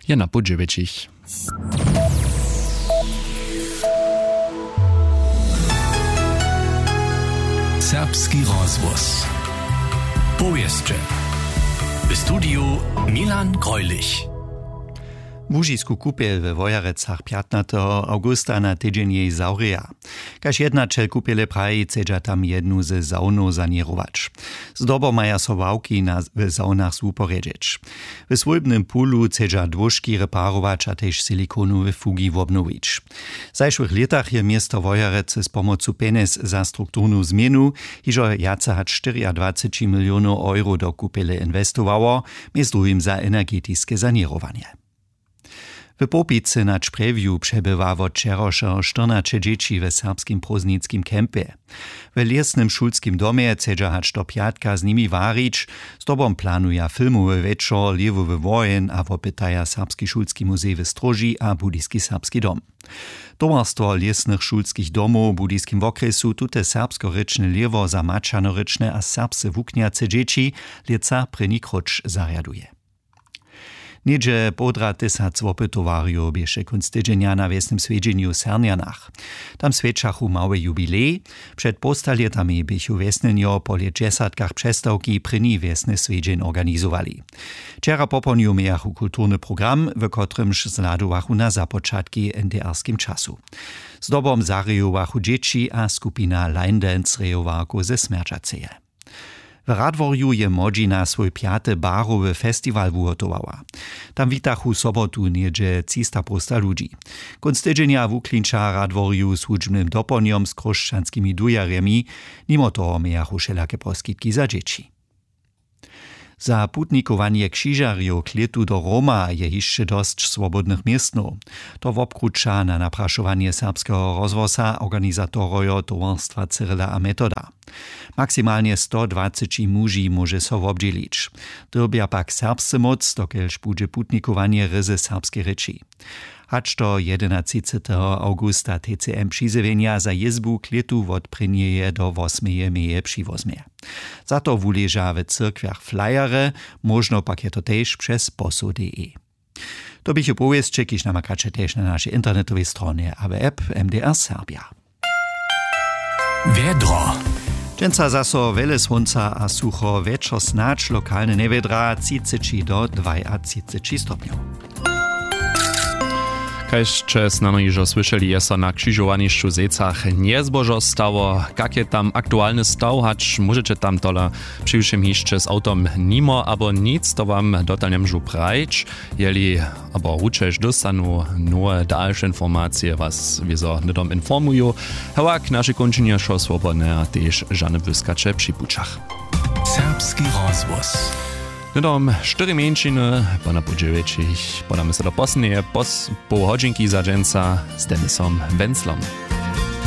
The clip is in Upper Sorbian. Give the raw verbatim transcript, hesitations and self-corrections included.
je na pół dźewjećich. Serbski rozhłos. Powěsće. W studiju Milan Greulich. Łužisku kupjel we Wojerecach pjatnateho awgusta na tydźeń jej zawrěja. Kaž jednaćel kupjele praji, chcedźa tam jednu ze sawnow saněrować. Zdobom maja so ławki na, w sawnach zwuporjedźeć. W swójbnym pulu chcedźa dwóžki reparować a tež silikonowe fugi wobnowić. W zašłych lětach je město Wojerecy z pomocu pjenjez za strukturnu změnu hižo wjace hač štyriadwaceći milionow euro do kupjele inwestowało, mjez druhim za energetiske saněrowanje. W Połpicy na Čprjewju přebywa wot wčerawšeho štyrnaće dźěći w serbskim prózdninskim campje. W lěsnym šulskim domje chcedźa hač do pjatka z nimi warić. Zdobom planuja filmowy wječor Lěwowy woheń a wopytaja Serbski šulski muzej w Stróži a Budyski serbski dom. Towarstwo lěsnych šulskich domow w Budyskim wokrjesu tute serbskorěčne lěhwo za maćernorěčne a serbsce wuknjace dźěći lětsa prěni króć zarjaduje. Něhdźe połdra tysac wopytowarjow běše kónc tydźenja na wjesnym swjedźenju w Sernjanach. Tam swjećachu mały jubilej. Před połstalětami běchu wjesnjenjo po lětdźesatkach přestawki prěni wjesny swjedźeń organizowali. Wčera popołdnju mějachu kulturny program, w kotrymž zhladowachu na započatki w N D R-skim času. Zdobom zarejowachu dźěći a skupina Line Dance rejowarkow ze Smjerćaceje. W Radworju je młodźina swój pjaty barowy festiwal wuhotowała. Tam witachu sobotu něhdźe třista połsta ludźi. Kónc tydźenja wuklinča w Radworju z hudźbnym dopołdnjom z chróšćanskimi dujerjemi. Nimo toho mějachu wšelake poskitki za dźěći. Za putnikowanje křižarjow k lětu do Roma je hišće dosć swobodnych městnow. To wobkruća na naprašowanje Serbskeho rozhłosa organizatorojo towarstwa Cyrila a Metoda. Maksimalnje sto dwaceći muži móže so wobdźělić. Dyrbja pak serbsce móc, dokelž budźe putnikowanje ryzy w serbskej rěči. Hač do jedenatřiceteho awgusta T C M přizjewjenja za jězbu k lětu wot prěnjeje do wosmeje meje přiwozmje. Za to wuleža w cyrkwjach flyerje, móžno pak je to tež přez posoł D E. To běchu powěsće, kiž namakaće tež na našej internetowej stronje a w app M D R Serbja. Wjedro. Dźensa zaso wjele słónca a sucho, wječor snadź lokalne njewjedra, třiceći do dwajatřiceći stopnjow. Kaž sće snano hižo słyšeli, je so na křižowanišću w Zejcach njezbožo stało. Kak je tam aktualny staw, hač móžeće tam tola přiwšěm hišće z awtom nimo abo nic, to wam dotal njemóžu prajić. Jeli abo ručež dóstanu nowe dalše informacije, was wězo hnydom informuju. Hewak naše kónčenje wšo swobodne a tež žane błyskaće při pućach. Serbski rozhłos. Hnydom štyri mjeńšiny, po na pół dźewjećich podamy so do posledneje pos-, poł hodźinki za dźensa z Denisom Wenzlom.